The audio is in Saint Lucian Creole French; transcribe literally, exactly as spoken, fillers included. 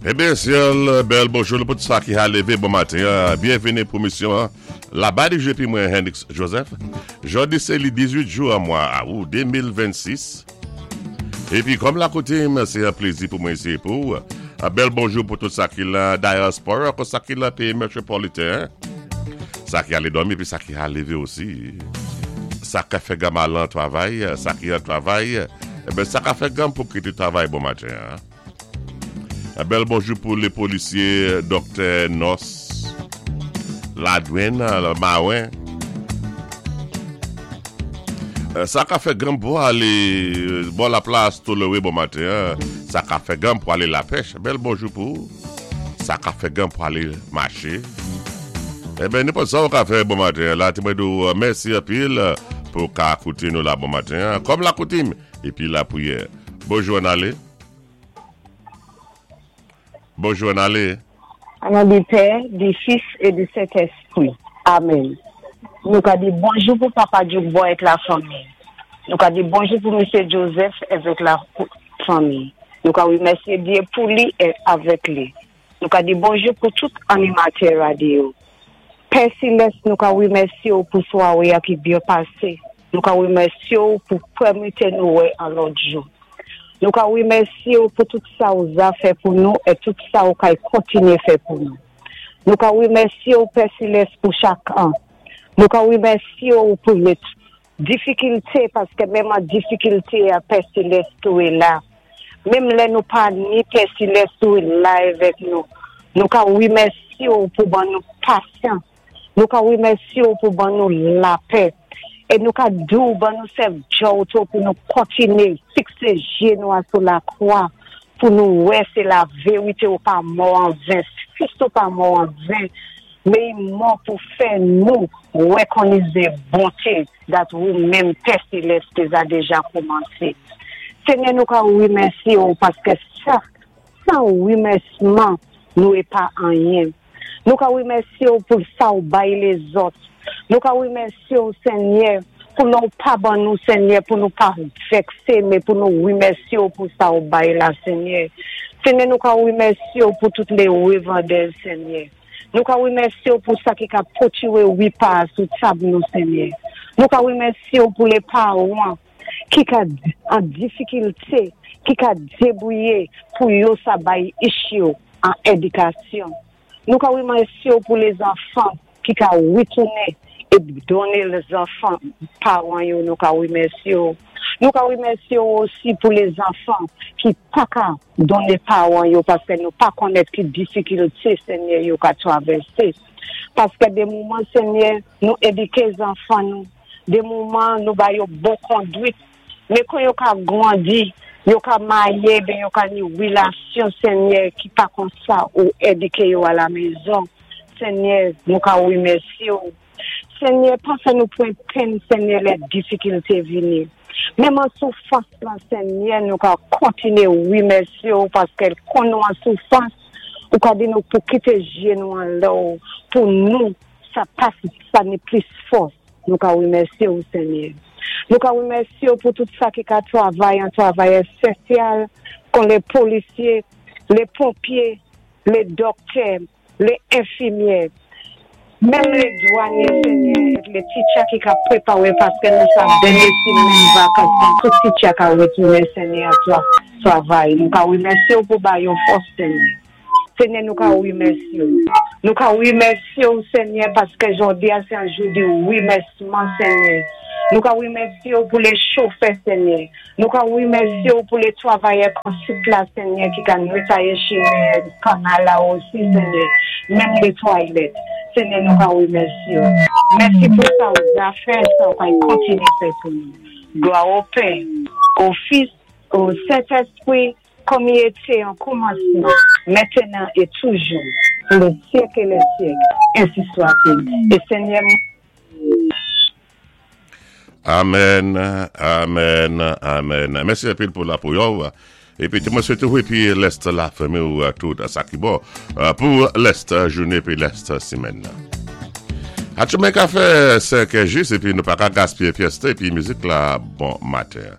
Ében, syèl, bèl bonjou pou tout sa ki a lévé bon maten. Byenvini pou émisyon Laba di jou épi mwen Hendrix Joseph. Jòdi sé li dizuit jou an mwa awou de mil vennsis. Épi kòm lakoutim, sé yon plézi pou mwen isi pou. Yon bèl bonjou pou tout sa ki la dyaspora, pou sa ki la péyi métwopoliten. Sa ki alé dòmi épi sa ki a lévé osi. Sa ki fè ganm al an travay, sa ki an travay, ében sa ki fè ganm pou kité travay bon maten. Hein. Yon bèl bonjou pou lé polisyé, doktè, nès, ladwann, maren. Sa ki fè ganm pou alé bò laplas Tolewe bon maten. Hein. Sa ki fè ganm pou alé lapèch. Bèl bonjou pou. Sa ki fè ganm pou alé maché. Eben, nenpòt sa ou ka fè bon maten. La, té mwen di ou, mèsi anpil pou ka kouté nou la bon maten. Kòm lakoutim épi lapriyè. Bonjou, ann alé. Bonjou, ann alé. An non di Pè, di Fis é di Sentèspwi. Amen. Nou ka di bonjou pou Papa Djoukbo avèk lafanmi. Nou ka di bonjou pou Misyé Joseph avèk lafanmi. Nou ka wimèsyé Dye pou li é avèk li. Nou ka di bonjou pou tout animatè radyo. Pè Selès, nou ka wimèsyé ou pou swaé a ki byen pasé. Nou ka wimèsyé ou pou pèmèt nou wè an lòt jou. Nou ka wimèsyé ou pou tout sa ou za fè pou nou é tout sa ou kay kontiné fè pou nou. Nou ka wimèsyé ou Pè Selès pou chak an. Nou ka wimèsyé ou pou lé difikilté paské menm an difikilté a Pè Selès tou é la. Menm lè nou pa ni Pè Selès tou é la avèk nou. Nou ka wimèsyé ou pou ban nou pasyans. Nou ka wimèsyé ou pou ban nou lapè. É nou ka di ou ban nou sèf djòw tou pou nou kontiné fiksé jé nou a sou lakwa pou nou wè sé lavérité ou pa mò an ven, Fis ou pa mò an ven, mé i mò pou fè nou wékonnizé bonté dat ou menm Pè Selès té za déja kòmansé. Senyè nou ka wimèsyé ou paské sa, san wimèsiman nou é pa anyen. Nou ka wimèsyé ou pou sa ou bay lézòt. Nou ka wimèsyé ou Senyè pou nou pa ban nou Senyè pou nou pa vèksé mé pou nou wimèsyé ou pou sa ou bay la Senyè. Senyè nou ka wimèsyé ou pou tout lé wévandè Senyè. Nou ka wimèsyé ou pou sa ki ka pwotwiwé wépa sou tab nou Senyè. Nou ka wimèsyé ou pou lé pawan ki ka an difikilté, ki ka débouyé pou yo sa bay ich yo an édikasyon. Nou ka wimèsyé ou pou lézanfan ki ka witouné é donné lézanfan pawan yo nou ka wimèsyé ou. Nou ka wimèsyé ou osi pou lézanfan ki pa ka donné pawan yo paské nou pa konnèt ki difikilté Senyè yo ka travèsé. Paské dé moman Senyè nou édiké zanfan nou, dé moman nou ba yo bon kondwit, mé kon yo ka gwandi, yo ka maryé, ben yo ka ni wilasyon Senyè ki pa kon sa ou édiké yo a la mezon. Senyè, nou ka wimèsyé ou. Senyè, pa fè nou pwan pèn, Senyè, lè difikilté vini. Menm an soufrans lan, Senyè, nou ka kontiné wimèsyé ou paské kon nou an soufrans, ou ka di nou pou kité jé nou anlè ou, pou nou, sa pas, sa ni plis fòs. Nou ka wimèsyé ou, Senyè. Nou ka wimèsyé ou pou tout sa ki ka travay, an travay esansyèl, kon lé polisyé, lé ponpyé, lé doktè, lé enfimyè, menm lé dwanyé, Senyè, lé teacher ki ka prépawé paské nou sa dènyé simenn vakans, tout teacher ka wétounen, Senyè, a travay. Nou ka wimèsyé ou pou ba yo fòs, Senyè. Senyè, nou ka wimèsyé ou. Nou ka wimèsyé ou, Senyè, paské jòdi a sé an jou di wimèsiman, Senyè. Nou ka wimèsyé ou pou lé chofè, Senyè. Nou ka wimèsyé ou pou lé travayè konsit la, Senyè, ki ka netwayé chimen, kanal la osi, Senyè. Menm lé toilèt. Senyè, nou ka wimèsyé ou. Mèsi pou sa ou za fè, sa ou kay kontiné fè pou nou. Glwa o Pè, o Fis, o Sentèspwi, kòm i été an kòmansman, mentenan é toujou, pou lé syèk é lé syèk, ensi swa-t-il. É Senyè, Amen, amen, amen. Mèsi anpil pou lapriyè. Épi, mwen swété ou épi lès lafanmi ou tout sa ki bon pou lès jounen épi lès simenn. Atchoumen ka fè senk jis épi nou pa ka gaspiyé pyès épi mizik la bon maten.